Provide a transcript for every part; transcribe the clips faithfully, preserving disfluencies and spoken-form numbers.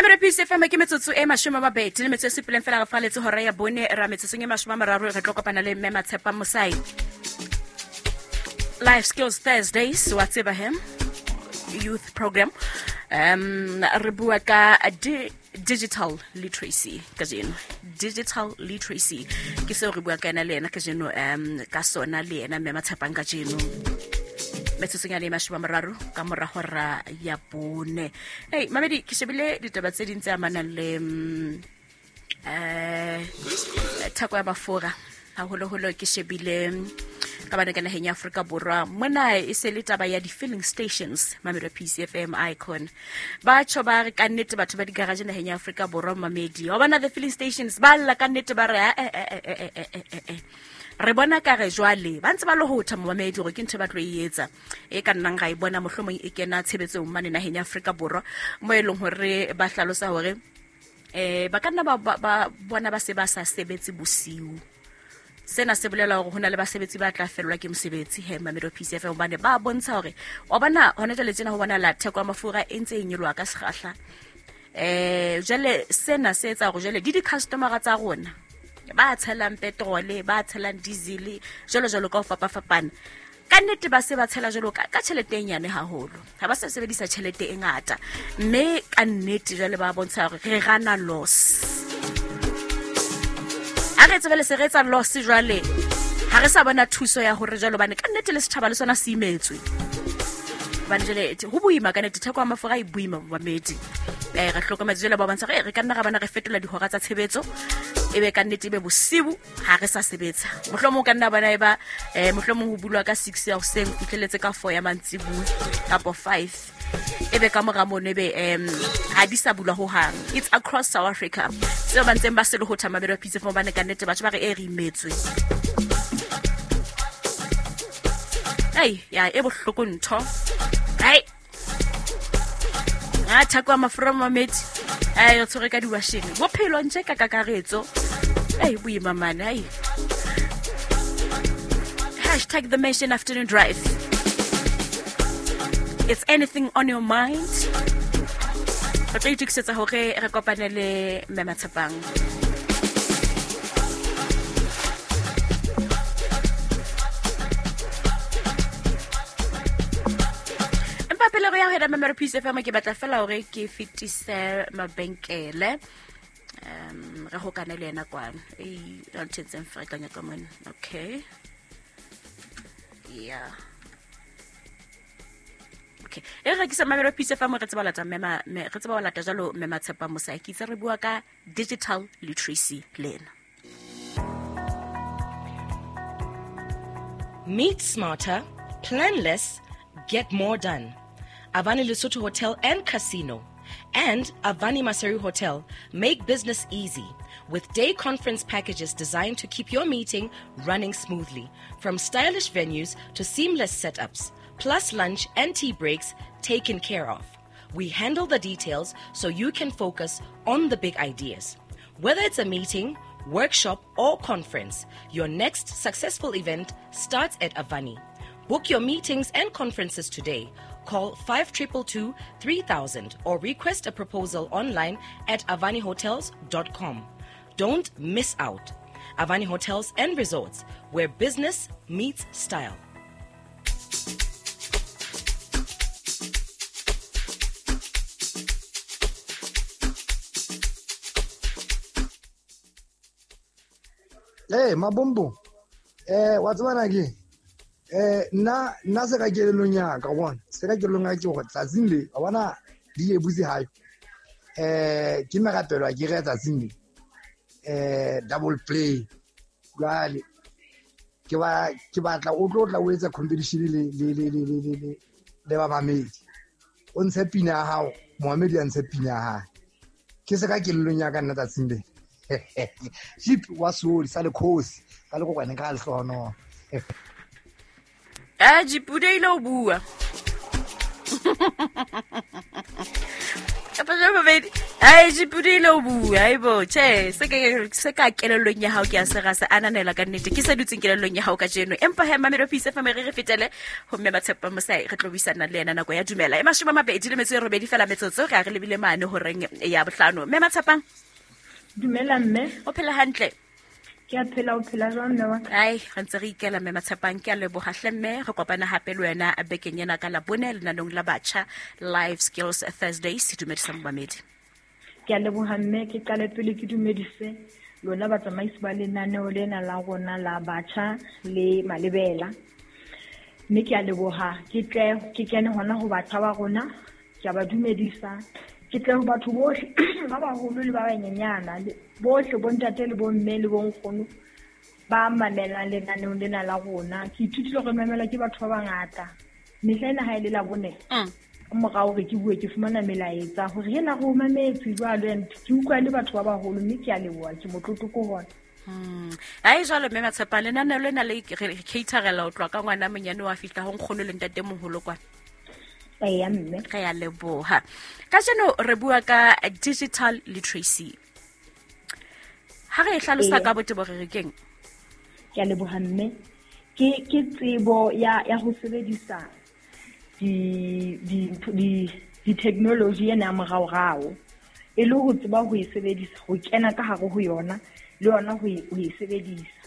Mamelo P C F M ke metsotso e mashome a mabedi le metso e supileng fela re faletse hora ya bone ra metsotsong e mashome a mararo re tlo kopana le Mme Matshepa Mosai. Life Skills Thursdays wa tseba hem youth program um re bua ka di digital literacy kajeno. Digital literacy ke seo re bua ka ena le ena kajeno um ka sona le ena Mme Matshepang kajeno. Metsotsong ya le mashome a mararo ka mora hora ya bone. Hey mamedi ke shebile ditaba tse ding tse amanang le eh theko ya mafura haholoholo ke shebile ka bana ka naheng ya Afrika Borwa mona e se le taba ya di-filling stations mamedi P C F M icon ba tjho ba re ka nnete batho ba di-garage naheng ya Afrika Borwa mamedi wa bona the filling stations ba lla ka nnete ba re eh eh eh eh eh eh re bona ka re jwale ba ntse ba lohotha momamedi hore ke ntho ba tlo e etsa e ka nnang ga e bona mohlomong e kena tshebetsong mane naheng ya Afrika Borwa mo e leng hore ba hlalosa hore eh ba ka nna ba ba bona ba se ba sa sebetse bosiu. Sena se bolela hore hona le basebetsi ba tla fellwa ke mosebetsi he Mamedo P C F M hobane ba bontsha hore wa bona hona jwale tjena ho bona la theko ya mafura e ntse e nyoloha ka sekgahla. Eh jwale sena se etsa hore jwale di di-customer tsa rona ba tshelang petrole ba tshelang diesel jwalo jwalo ka ho fapafapana ka nnete ba se ba tshela jwalo ka ka tjhelete e nyane haholo ha ba sa sebedisa tjhelete e ngata mme ka nnete jwale ba bontsha hore re rana loss. Ha re tsebele se re etsa loss jwale ha re sa bona thuso ya hore jwalo bane ka nnete le setjhaba le sona se imetswe bane jwale ho boima ka nnete theko ya mafura e boima mamedi eh re hlokometse jwale ba bontsha re re ka nna ra bana re fetola dihora tsa tshebetso ebe ka nnete ebe bosibu ha re sa sebetsa mohlomong ka nna bana e ba eh mohlomong ho bulwa ka six ya hoseng fihleletse ka four ya mantsibuya kapo five ebe ka mora mono ebe em ha di sa bulwa ho hang. It's across South Africa seo ba ntseng ba se le ho thama belo pitse fo bane ka nnete batho ba re e re imetswe ai ya e bohloko ntho ai a thako mafura mamedi ai o tshwere ka diwasheng bophelo ntse ka kakaretso ai boima mane ai hashtag the Nation Afternoon Drive. It's anything on your mind. Re tla itokisetsa hore re kopane le Mme Matshepang. Empa pele re ya ho heda Mamedo P C F M ke batla fela hore ke fetise mabenkele um re hokane le yena kwana e ntshetseng ferekanya ka mona. Okay yeah okay e re ke sa Mamedo P C F M re tseba lata mme re tseba lata jalo Mme Matshepa Mosai ke itse re bua ka digital literacy le ena. Meet smarter, plan less, get more done. Avani Lesotho Hotel and Casino and Avani Maseru Hotel make business easy with day conference packages designed to keep your meeting running smoothly, from stylish venues to seamless setups, plus lunch and tea breaks taken care of. We handle the details so you can focus on the big ideas. Whether it's a meeting, workshop or conference, your next successful event starts at Avani. Book your meetings and conferences today. Call five two two two, three thousand or request a proposal online at avani hotels dot com. Don't miss out. Avani Hotels and Resorts, where business meets style. Hey, Mabombo. Eh, what's one again? Eh, nna nna se ka kelellong ya ka bona se ka kelellong ya ke hore tsatsing le wa bona di e butse hayo eh ke merapelo a ke re tsatsing le eh double play jwale ke ba ke batla o tlo tla o etsa competition le le le le le le le ba mamedi o ntshe pina ya hao Mohamedi a ntshe pina ya hae ke se ka kelellong ya ka nna tsatsing le Jeep wa soli sa le khosi ka le kokwane ka lehlono. Ah, Jipude ile o bua. Kapa Mabedi ai jipudile o bua aibo che se ke se ka kelellong ya hao ke a se ra se ananela ka nnete ke se dutseng kelellong ya hao ka jeno empa he Mamelodi Peace F M re re fetele ho mme Matshepa Mosai re tlo buisana le yena nako ya dumela e mashome a mabedi le metso e robedi fela metsotso re a re lebile mane horeng ya bohlano. Mme Matshepang, dumela mme, o phela hantle? Ke a phela, o phela jwang mme wa ka? Ai re ntse re ikela mme Matshepang, ke a leboha hle mme re kopana hape le wena bekeng ena ka Labone lenanong la batjha Life Skills Thursdays. Dumedisa momamedi. Ke a leboha mme, ke qale pele ke dumedise lona batsamaisi ba lenaneo lena la rona la batjha le malebela. Mme ke a leboha, ke tle ke kene hona ho batjha ba rona, ke a ba dumedisa. Ke tle ho batho bohle ba baholo le ba banyenyana, bohle bontate le bomme le bonkgono ba mamelang lenaneong lena la rona. Ke ithutile hore mamela ke batho ba bangata. Mehla ena ha e le Labone, morao hore ke bue ke fumana melaetsa hore hela re o mametse jwalo, and ke utlwa le batho ba baholo, mme ke a leboha, ke motlotlo ko hona. Mm. Ai jwalo mme Matshepa, lenaneo lena le re caterela ho tloha ka ngwana monyane wa fihla ho nkgono le ntate moholo kwana. Eya mme, re a leboha. Kajeno re bua ka digital literacy. Ha re e hlalosa ka botebo re re keng? Ke a leboha mme. Ke ke tsebo ya ya ho sebedisa di di di di technology ena ya moraorao, e le ho tseba ho e sebedisa, ho kena ka hare ho yona le yona ho e ho e sebedisa.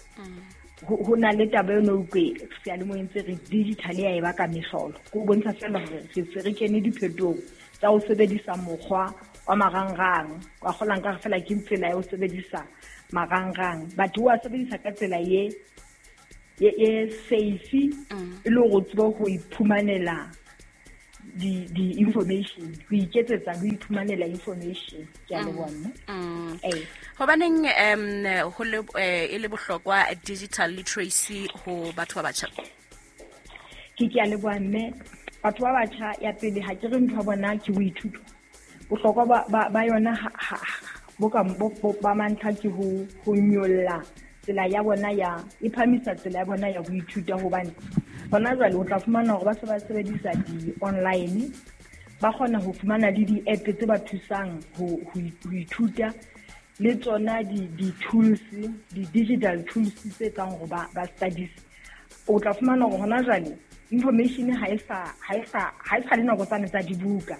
Ho na le taba eno utlwe seyalemoyeng tse re digital ya e baka mehlolo, ke ho bontsha fela hore re se re kene diphetong tsa ho sebedisa mokgwa wa marangrang. Wa kgola nka fela ke tsela ya ho sebedisa marangrang, batho wa sebedisa ka tsela ye ye ye safe, e le hore o tsebe ho iphumanela di di information, ho iketsetsa ho iphumanela information. Ke a leboha mme. Eh hobaneng um ho le e le bohlokwa digital literacy ho batho ba batjha? Ke ke a leboha mme. Batho ba batjha ya pele ha ke re ntho ya bona ke ho ithuta. Bohlokwa ba ba, ba yona bo ka ba mantlha ke ho ho nyolla tsela ya bona ya e phamisa tsela ya bona ya ho ithuta, hobane hona jwale o tla fumana hore ba se ba sebedisa di-online, ba kgona ho fumana le di-app tse ba thusang ho ho ithuta, le tsona di-tools, di-digital tools tse etsang hore ba ba studies. O tla fumana hore hona jwale information ha e sa ha e sa ha e sa le nako tsane tsa dibuka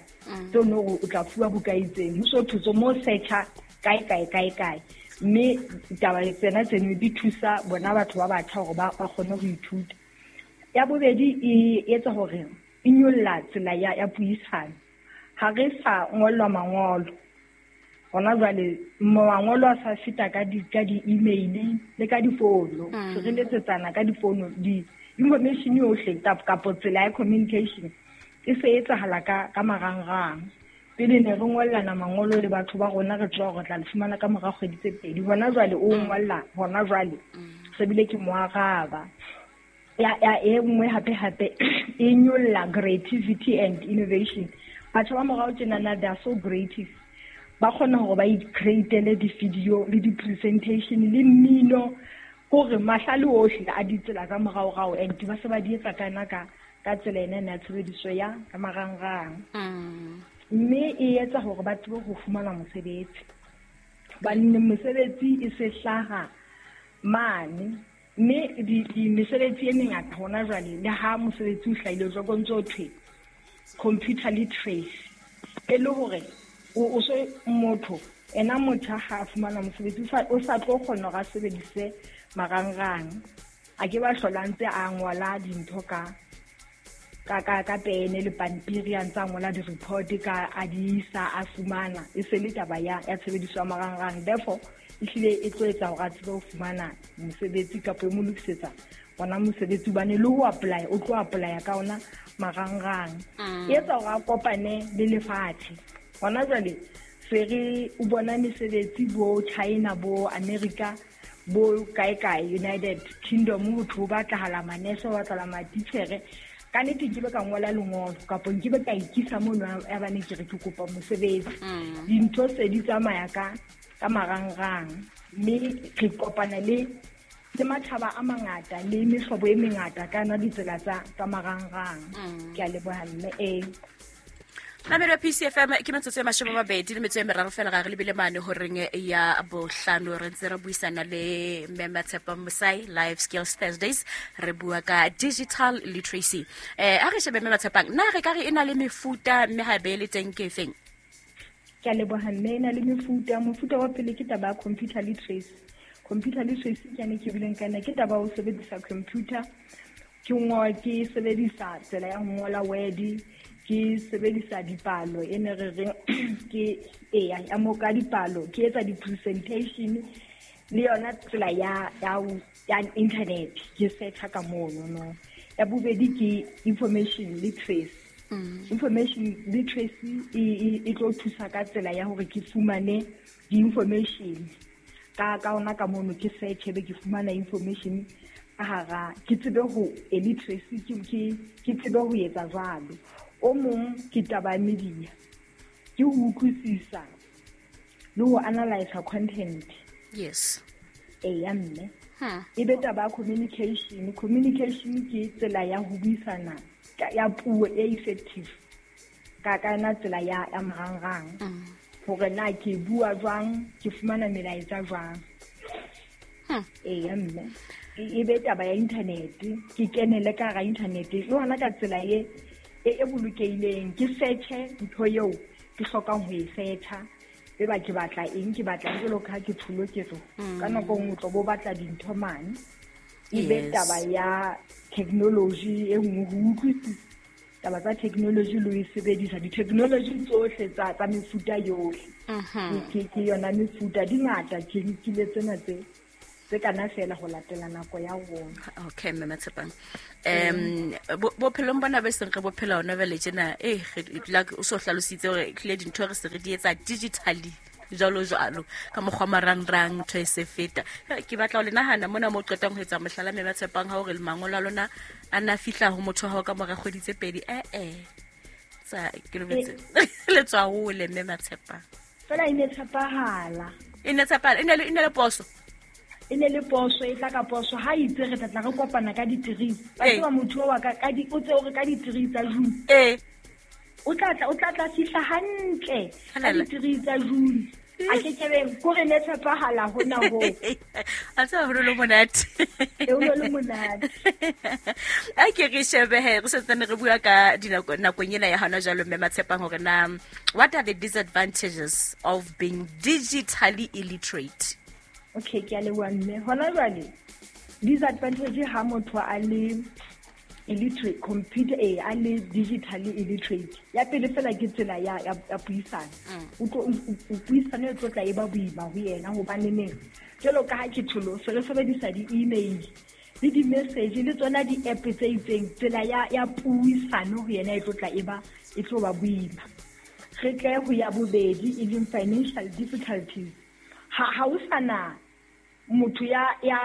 tseo no o tla fuwa buka itseng, ho so thutso mo searcha kae kae kae kae. Mme taba tsena tseno di thusa bona batho ba batjha hore ba ba kgone ho ithuta. Ya bobedi e etsa hore e nyolla tsela ya ya puisano. Ha re sa ngollwa mangolo hona jwale, mangolo a sa feta ka di ka di-email le ka difono, re letsetsana ka difono, di information yohle kapo tsela ya communication e se etsahala ka ka marangrang. Pele ne re ngollana mangolo le batho ba rona, re tswa hore tla le fumana ka mora kgwedi tse pedi. Hona jwale o ngolla hona jwale se bile ke moaraba. Ya ya e nngwe hape hape e nyolla creativity and innovation. Batho ba morao tjenana they are so creative, ba kgona hore ba i-createle di-video le di-presentation le mmino, hore mahlale ohle a ditsela tsa moraorao, and ba se ba di etsa kana ka ka tsela ena ya tshebediso ya ka marangrang. Mme e etsa hore ba tsebe ho fumana mosebetsi, hobane mosebetsi e se hlaha mane, mme di di mesebetsi e mengata hona jwale le ha mosebetsi o hlahile jwalo ko ntso thwe computer literacy, e le hore o so motho ena motho ha a fumana mosebetsi o sa tlo kgona hore a sebedise marangrang, a ke ba hlola ntse a ngola dintho ka ka ka ka pene le pampiri, a ntse a ngola di-report ka a di isa a fumana, e se le taba ya ya tshebediso ya marangrang. Therefore ehlile e tlo etsa hore a tsebe ho fumana mosebetsi kapa e mo lokisetsa ona mosebetsi, hobane le ho apply o tlo apply ka ona marangrang. E etsa hore a kopane le lefatshe. Hona jwale se re o bona mesebetsi bo China bo America bo kae kae United Kingdom, ho thwe ho batlahala manese, ho batlahala matitjhere. Ka nnete nkebe ka ngola lengolo kapa nkebe ka ikisa mono ya bane ke re ke kopa mosebetsi. Dintho se di tsamaya ka ka marangrang, mme re kopana le le matjhaba a mangata le mehlobo e mengata ka yona ditsela tsa tsa marangrang. Ke a leboha mme. Eh Namelo P C F M ke metsotso e mashome a mabedi le metso e meraro fela ga re lebile mane horeng ya bohlano re ntse re buisana le Mme Matshepang Mosai Life Skills Thursdays re bua ka digital literacy. Eh a re shebe Mme Matshepang na re ka re e na le mefuta mme ha be le teng ke feng? Ke a leboha mme e na le mefuta. Mofuta wa pele ke taba ya computer literacy. Computer literacy ke yane ke bileng ka yona, ke taba ya ho sebedisa computer. Ke ngo ke sebedisa tsela ya ho ngola Word, ke sebedisa dipalo e ne re reng ke eya ya mo ka dipalo, ke etsa di-presentation le yona tsela ya ya ya internet ke searcha ka mono no. Ya bobedi ke information literacy. Mm. Information literacy e, e, e tlo thusa ka tsela ya hore ke fumane di-information ka ka ona ka mono, ke search be ke fumana information ka hara, ke tsebe ho e literacy ke ke ke tsebe ho etsa jwalo. O mong ke taba ya media, ke ho utlwisisa le ho analyze content. Yes. Eya mme. Hmm. E be taba ya communication. Communication ke tsela ya ho buisana ka ya puo e effective ka ka yona tsela ya ya marangrang. Mm. Hore na ke bua jwang, ke fumana melaetsa jwang. Hmm. Eya mme. E, e be taba ya internet, ke kenele ka hara internet le hona ka tsela e e, e bolokehileng, ke search-e ntho eo ke hlokang ho e search-a. E ba ke batla eng, ke batla eng, jwalo ka ha ke tsholo ke re, Mm. ka nako e nngwe o tlo bo batla dintho mane. E be Yes. taba ya technology e nngwe, ho utlwisisa taba tsa technology le ho e sebedisa, di-technology tsohle tsa, tsa mefuta yohle. Mhm. Ke, ke yona mefuta, di ngata, ke nkile tsena tse, tse kana fela ho latela nako ya rona. Okay, Mme Matshepang. Um bophelong bona be seng re bophela hona jwale tjena, eh re like o so hlalositse hore ehlile dintho re se re di etsa digitally jwalo jwalo ka mokgwa marangrang ntho e se feta. Ke batla ho le nahana mona mo qetang ho etsa mohlala Mme Matshepang ha hore mangolo a lona a na fihla ho motho wa hao ka mora kgwedi tse pedi. Eh eh. Tsa ke lobetse. Le tswa hole Mme Matshepang. Fela e ne tshepahala. E ne tshepahala, e ne le, e ne le poso. E ne le poso, e tla ka poso. Ha itse re tla tla re kopana ka di-three. Ba Ee. tseba motho wa ka, ka di, o tse o re ka di-three tsa June. Ee. O tla tla, o tla tla fihla hantle ka Halala. di-three tsa June. A ke ke be, ko re ne tshepahala hona hoo. A tseba ho le monate. E, ho le monate. A ke re shebe he, re santsane re bua ka dinako, nakong ena ya hona jwalo Mme Matshepang hore na what are the disadvantages of being digitally illiterate? Okay, ke a leboha mme. Hona jwale disadvantage ha motho a le illiterate, computer, eh, a le digitally illiterate. Ya pele fela ke tsela ya, ya, ya puisano. Mm. O tlo, o, o, puisano e tlo tla e ba boima ho yena hobane neng jwalo ka ha ke tsholo, se re sebedisa di-email le di-message le tsona di-app tse itseng, tsela ya, ya puisano ho yena e tlo tla e ba, e tlo ba boima. Re tle ho ya bobedi e leng financial difficulties. Ha, ha o sa na motho ya, ya,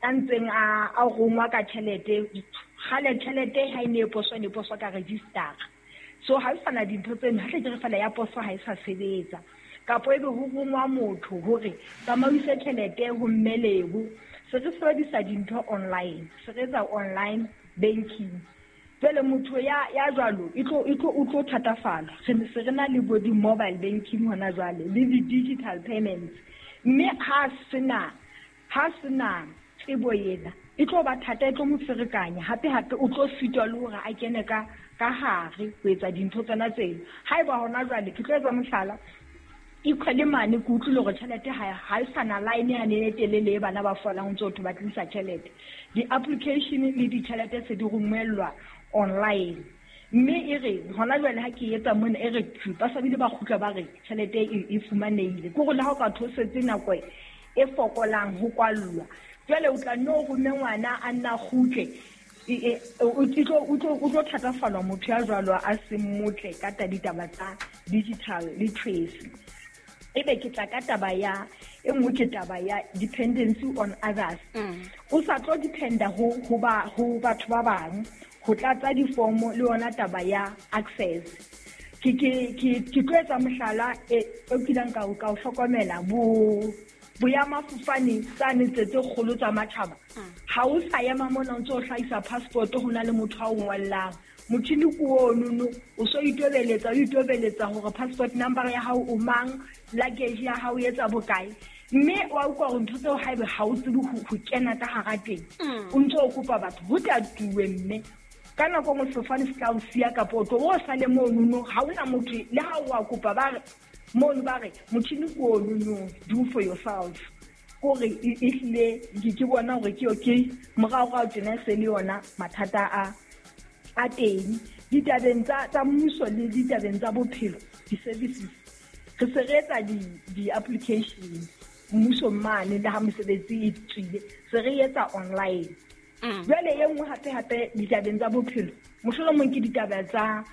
ya ntseng a, a rongwa ka tjhelete, kgale tjhelete ha e ne e poswa, e ne e poswa ka register. So ha o sa na dintho tseno, ha tle ke re fela ya poso ha e sa sebetsa. Kapo ebe ho rongwa motho hore tsamaise tjhelete ho mme Lebo. Se re sebedisa dintho online, se re etsa online banking. Jwale motho ya, ya jwalo, e tlo, e tlo, o tlo thatafala. Re ne se re na le bo di-mobile banking hona jwale, le di-digital payments. Mme ha sena, ha sena tsebo ena, e tlo ba thata, e tlo mo ferekanya. Hape hape o tlo sitwa le hore a kene ka, ka hare ho etsa dintho tsena tseno. Haeba hona jwale, ke tlo etsa mohlala, equally mane ke utlwile hore tjhelete ha, ha e sa na line yane e telele e bana ba folang ho ntso ho thwe ba tlisa tjhelete. Di-application le ditjhelete se di romellwa online. Mme e re hona jwale ha ke etsa mona, e re tjhu, ba sa bile ba kgutla ba re tjhelete e, e fumanehile. Ke hore le ha o ka thosetse nako e fokolang ho kwallwa, jwale o tla nno rome ngwana a nna kgutle, e, e, o, e tlo, o tlo, o tlo thatafallwa motho ya jwalo a seng motle ka ta ditaba tsa digital literacy. Ebe ke tla ka taba ya, e nngwe ke taba ya dependency on others. Mm. O sa tlo dependa ho, ho ba, ho batho ba bang ho tlatsa difomo le yona taba ya access. Ke, ke, ke, ke tlo etsa mohlala e, o kileng ka o, ka o hlokomela bo, boemafofane tsane tse tse kgolo tsa matjhaba. Mm. Ha o sa ema mona o ntso o hlahisa passport ho na le motho a o ngollang. Motjhini ke ono o so itobeletsa o itobeletsa hore passport number ya hao o mang, luggage ya hao e etsa bokae. Mme wa utlwa hore ntho tseo haebe ha o tsebe ho kena ka hara teng, o ntso o kopa batho ho tla tuwe mme ka nako nngwe sefofane se tla o siya kapa o tlo o sale monono, ha hona motho le ha o a kopa ba re mono ba re motjhini ke ono, do for yourself. Kore e hlile ke bona hore ke okay moraorao tjena se le yona mathata a a teng ditabeng tsa tsa mmuso le ditabeng tsa bophelo, di-services re se re etsa di-application mmuso mane le ha mosebetsi e tswile se re etsa online. Jwale e nngwe hape hape ditabeng tsa bophelo mohlomong ke ditaba tsa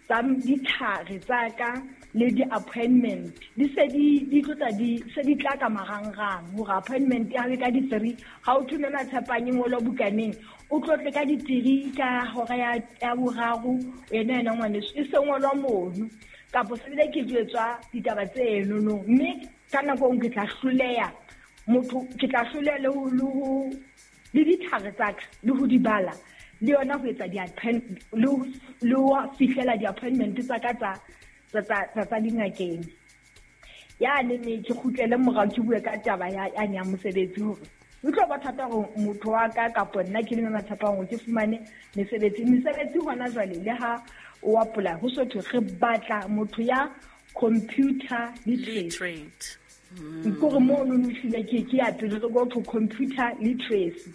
tsa ditlhare tsa ka le di-appointment di se di di tlotsa di se di tla ka marangrang hore appointment ya ka di-three ha o thome Matshepang ngolo bukaneng o tlotle ka di-three ka hora ya ya boraro yena yena ngwaneso e se ngolwa mono kapo se bile ke jwetswa ditaba tse enono mme ka nako nngwe ke tla hloleha motho ke tla hloleha le ho le ditlhare tsa ka le ho di bala le yona ho etsa di-appointment le ho fihlela di-appointment tsa ka tsa tsa tsa tsa dingakeng. Ya ne ne ke kgutlele morao ke bue ka taba ya ya ya mosebetsi hore o tlo ba thata hore motho wa ka kapo nna ke le Matshepang hore ke fumane mesebetsi. Mesebetsi hona jwale le ha o apply ho so thwe re batla motho ya computer literate. Kore mono no hlile ke ke ya pele re go to computer literacy.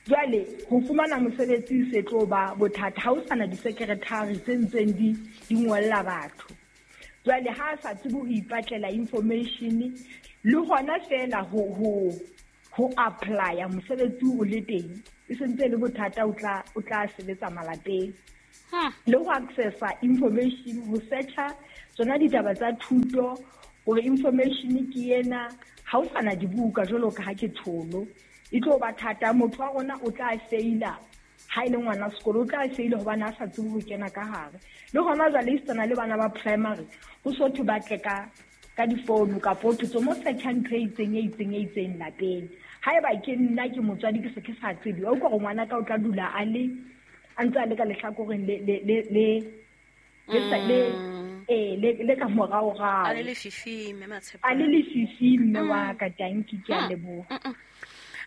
Jwale ho fumana mosebetsi se tlo ba bothata ha o sana di-secretary tse ntseng di di ngolla batho. Jwale ha a sa tsebe ho ipatlela information le hona fela ho ho ho apply mosebetsi o le teng e sentse le bothata o tla o tla sebetsa malapeng. Le ho accessa information ho searcha tsona ditaba tsa thuto hore information ke ena ha o sana dibuka jwalo ka ha ke tholo e tlo ba thata motho wa rona o tla faila ha ile ngwana sekolo o tla faila hobane a sa tsebe ho kena ka hare. Le hona jwale e tsena le bana ba primary ho so thwe ba tle ka ka difounu kapo thutso mo searcha ntho e itseng e itseng e itseng lapeng. Haeba ke nna ke motswadi ke se ke sa tsebe o ka gore ngwana ka o tla dula a le a ntse a le ka lehlakoreng le le le le le eh le le ka moraorao a le lefifi mme Matshepang a le lefifi mme wa ka tanki ke a leboha.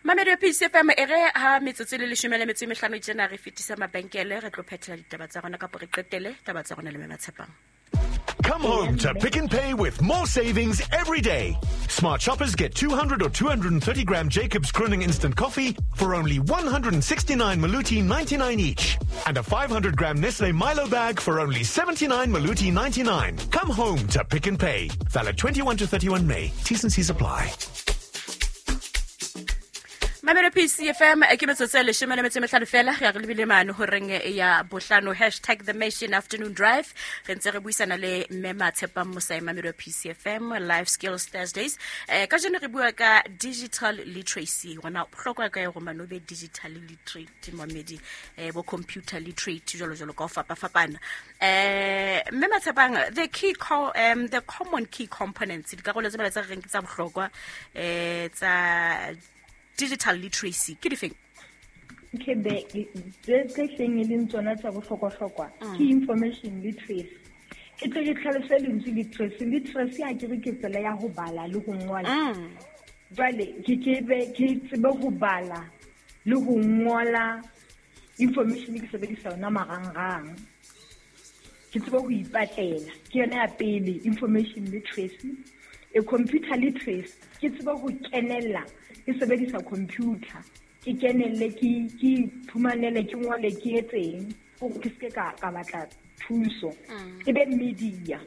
Mamedi wa P C F M e re ha metsotso le leshome le metso e mehlano tjena re fetisa mabenkele re tlo phethela ditaba tsa rona kapo re qetele taba tsa rona le mme Matshepang. Come home to Pick n Pay with more savings every day. Smart shoppers get two hundred or two hundred thirty gram Jacobs Crooning Instant Coffee for only one hundred sixty-nine Maluti ninety-nine each. And a five hundred gram Nestle Milo bag for only seventy-nine Maluti ninety-nine. Come home to Pick n Pay. Valid twenty-one to thirty-one May. T's and C's apply. Mamelo P C F M ke metsotso e leshome le metso e mehlano fela re re lebile mane horeng ya bohlano hashtag the Nation Afternoon Drive re ntse re buisana le mme Matshepang Mosae Mamelo P C F M Life Skills Thursdays eh ka jeno re bua ka digital literacy rona bohlokwa ka hore mano be digital literate mamedi eh bo computer literate jalo jalo ka ho fapafapana eh mme Matshepang the key co um the common key components dikarolo tse bala tsa reng ke tsa bohlokwa eh tsa digital literacy ke difeng? Ke be tse hleng e leng tsona tsa bohlokwa-hlokwa ke information literacy. Ke tle ke tlhalose lentswe literacy. Literacy ha ke re ke tsela ya ho bala le ho ngola. Jwale ke ke be ke tsebe ho bala le ho ngola information ke sebedisa yona marangrang. Ke tsebe ho ipatlela. Ke yona ya pele information literacy. E computer literacy ke tsebe ho kenella ke sebedisa computer ke kenelle ke ke phumanele ke ngole ke etseng hore ke seke ka ka batla thuso. E be media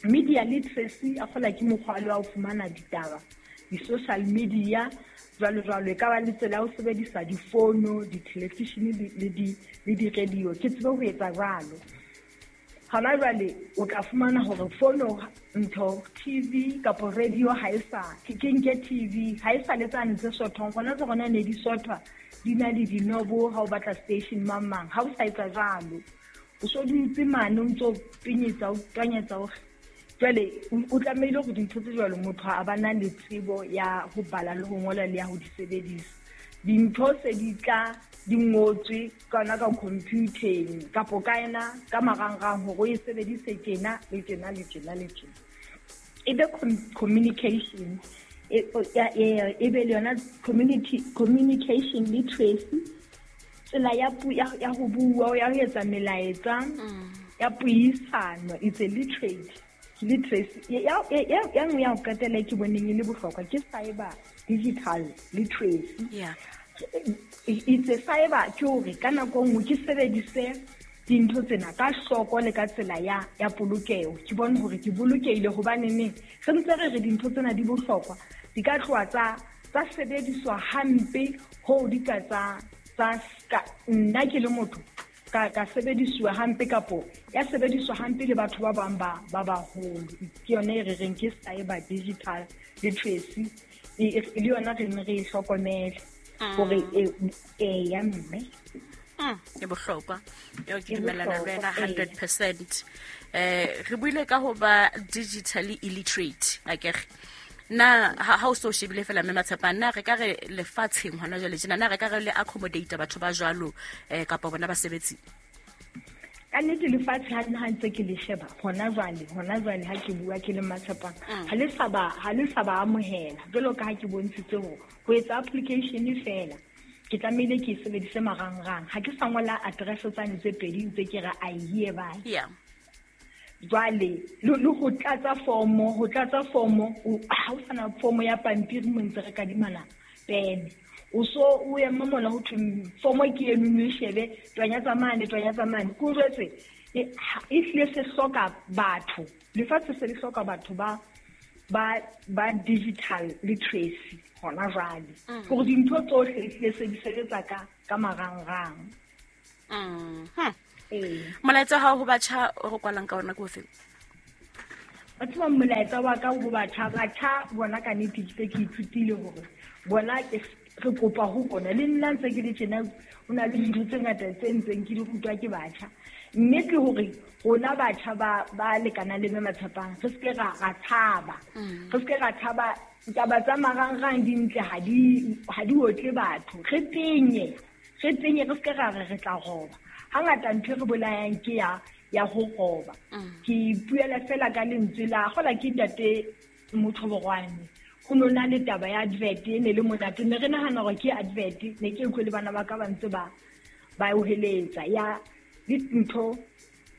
media literacy a kgola ke mokgwa wa ho fumana ditaba di-social media jwalo jwalo e ka ba le tsela ya ho sebedisa difono di-television le di le di-radio ke tsebe ho etsa jwalo. Hona jwale o tla fumana hore fono ntho T V kapa radio ha e sa ke nke T V ha e sa le tsane tse sothong gona tse gona ne di sothwa di na le dinobo ha o batla station mang mang ha o sa etsa jwalo o so dutse mane o ntso pinyetsa o twanyetsa o jwale o tlamehile hore dintho tse jwalo motho a ba na le tsebo ya ho bala le ho ngola le ya ho di sebedisa. Dintho se di tla di ngotswe kana ka computer kapo ka ena ka marangrang hore o e sebedise tjena le tjena le tjena le tjena. E be communication e e be le yona community communication literacy, tsela ya ya ho bua ya ho etsa melaetsa ya puisano, it's a literate literacy. Ya ya ya nngwe ya ho qetela ke boneng e le bohlokwa ke cyber digital literacy. Yeah. It's a cyber ke hore ka nako nngwe ke sebedise dintho tsena ka hloko le ka tsela ya ya polokeho. Ke bone hore ke bolokehile hobane neng re ntse re re dintho tsena di bohlokwa di ka tloha tsa tsa sebediswa hampe ho di ka tsa tsa nna ke le motho ka ka sebediswa hampe kapo ya sebediswa hampe le batho ba bang ba ba baholo. Ke yona e re reng ke cyber digital literacy, e le yona re ne re e hlokomele hore e ya mme. Mm, e bohlokwa. Eo ke dumellana le wena hundred percent. Eh re buile ka ho ba digitally illiterate akere. Na ha o so shebile fela mme Matshepang, na re ka re lefatsheng hona jwale tjena, na re ka re le accommodate batho ba jwalo eh kapa bona basebetsi? Ka nnete lefatshe ha nna ntse ke le sheba hona jwale, hona jwale ha ke bua ke le Matshepang, ha le sa ba ha le sa ba amohela jwalo ka ha ke bontshitse hore ho etsa application fela ke tlamehile ke sebedise marangrang. Ha ke sa ngola address tsane tse pedi ntse ke re I hereby. Yeah. Jwale le ho tlatsa formo, ho tlatsa formo ha o sana formo ya pampiri mo ntse re kadimana pene. O so o ema mona ho thwe formo ke eno no shebe twanya tsa mane twanya tsa mane. Ke o jwetse e hlile se hloka batho. Lefatshe se le hloka batho ba ba ba digital literacy hona jwale. Hore dintho tsohle di se di sebetsa ka ka marangrang. Mm. Eh. Molaetsa ha ho batjha o re kwalang ka ona ke ofe? Batho ba molaetsa wa ka ho batjha, batjha bona ka nnete ke ke ithutile hore bona ke re kopa ho bona le nna ntse ke le tjena ho na le dintho tse ngata tse ntseng ke di rutwa ke batjha. Mme ke hore rona batjha ba ba lekana le mme Matshepang re se ke ra ra tshaba. Re se ke ra tshaba taba tsa marangrang di ntle ha di ha di otle batho. Re tenye, re tenye re se ke ra re re tla roba. Hangata ntho e re bolayang ke ya ya ho roba. Ke ipuela fela ka lentswe la gola ke ntate Mothoborwane. Ho no na le taba ya advert e ne le monate, ne re nahana hore ke advert, ne ke utlwe le bana ba ka ba ntse ba ba o heletsa ya dintho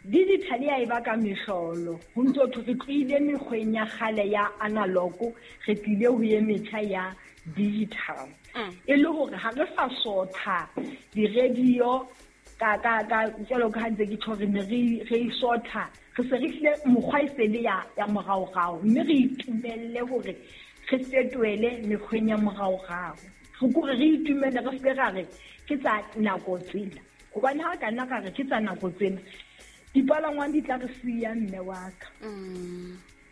digital ya e baka mehlolo. Ho ntso thwe re tlohile mekgweng ya kgale ya analog, re tlile ho ye metjha ya digital. E le hore ha re sa sotha di-radio ka ka ka jwalo ka ha ntse ke tjho re ne re re sotha, re se re hlile mokgwa e se le ya ya moraorao, mme re itumelle hore re fetohele mekgweng ya moraorao. Re kore re itumelle, re se ra re ke tsa nako tsena, hobane ha ka nna ka re ke tsa nako tsena dipalangwang di tla re siya mme wa ka.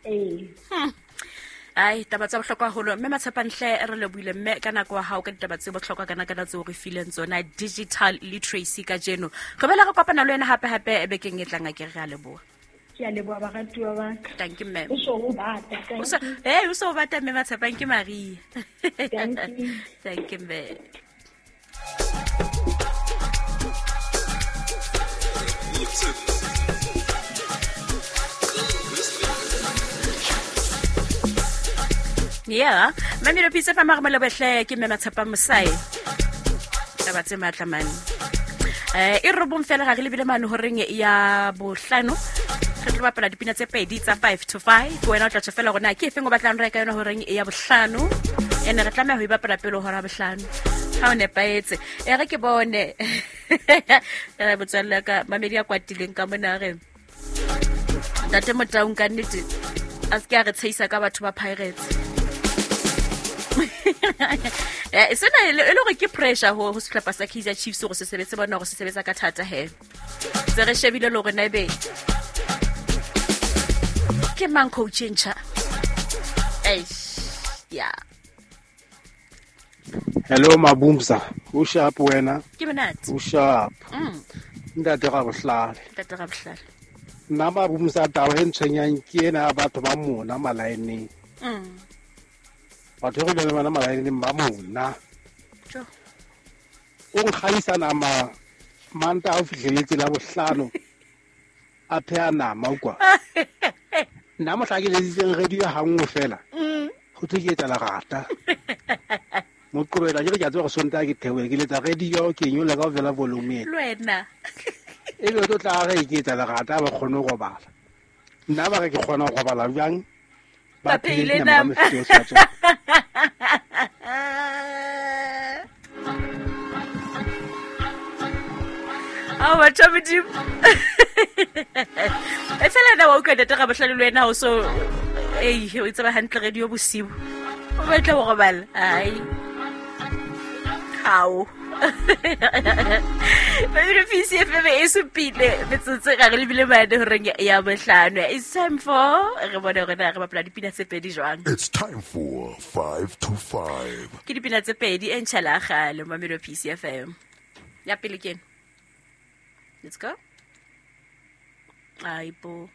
Ee. Ai taba tsa bohlokwa haholo mme Matshepang hle re lebohile mme ka nako ya hao ka ditaba tse bohlokwa kana kana tseo re fileng tsona digital literacy kajeno. Re bela re kopana le wena hape hape bekeng e tlang, a ke re a leboha. Ke a leboha baratuwa ba ka. Thank you ma'am. O so o bata. O so eh o so o bata mme Matshepang ke Maria. Thank you. Thank you ma'am. Yeah, mami lo pizza fa marmelo behle ke mme Matshepang Mosai. Taba tse matla mane. Eh e robong fela ga re lebile mane horeng ya bohlano. Re tlo bapala dipina tse pedi tsa five to five. Wena o tla tjho fela hore na ke efeng o batlang reka yona horeng ya bohlano. Ene re tlameha ho e bapala pele hora bohlano. Ha o nepahetse. E re ke bone. Re botswalle ka mamedi ya kwatileng ka mona re. Ntate Motaung ka nnete a se ke a re tsheisa ka batho ba Pirates. Eh sena e le hore ke pressure ho ho sehlopha sa Kaizer Chiefs hore se sebetse bona hore se sebetsa ka thata he. Se re shebile le hore na ebe ke mang coach e ntjha. Eish, yeah. Hello Mabumsa, o sharp wena? Ke monate. O sharp. Mm. Ntate Rabohlale. Ntate Rabohlale. Nna Mabumsa taba e ntshwenyang ke ena batho ba mona malaeneng. Mm. Batho re le bana malaeneng ba mona. Jo. O nkgaisa nama manta o fihleletse la bohlano a pheha nama o kwa. Nna mohla ke letsitseng radio ha nngwe fela. Ho thwe ke etsa lerata. Moqobela ke re ke a tseba gore Sontaha ke theohe ke letsa radio ke nyolla kaofela volume ena. Le wena. Ebe o tlo tla re ke etsa lerata ba kgone ho robala. Nna ba re ke kgona ho robala jang? Ba Ba phehile phehile nama ka nama. mefuta yohle ya tsona. Ao batho ba Modimo. E fela nna wa utlwa ntate Rabohlale le wena ha o so ei o tseba hantle radio bosiu. O batla ho robala. Ai. Hao. Baby P C F M e supile metsotso ga re lebile mane horeng ya bohlano. It's time for re bone hore na re bapala dipina tse pedi jwang. It's time for five to five. Ke dipina tse pedi e ntjha la kgale Mamelodi P C F M. Ya pele ke ena. Let's go. Aibo.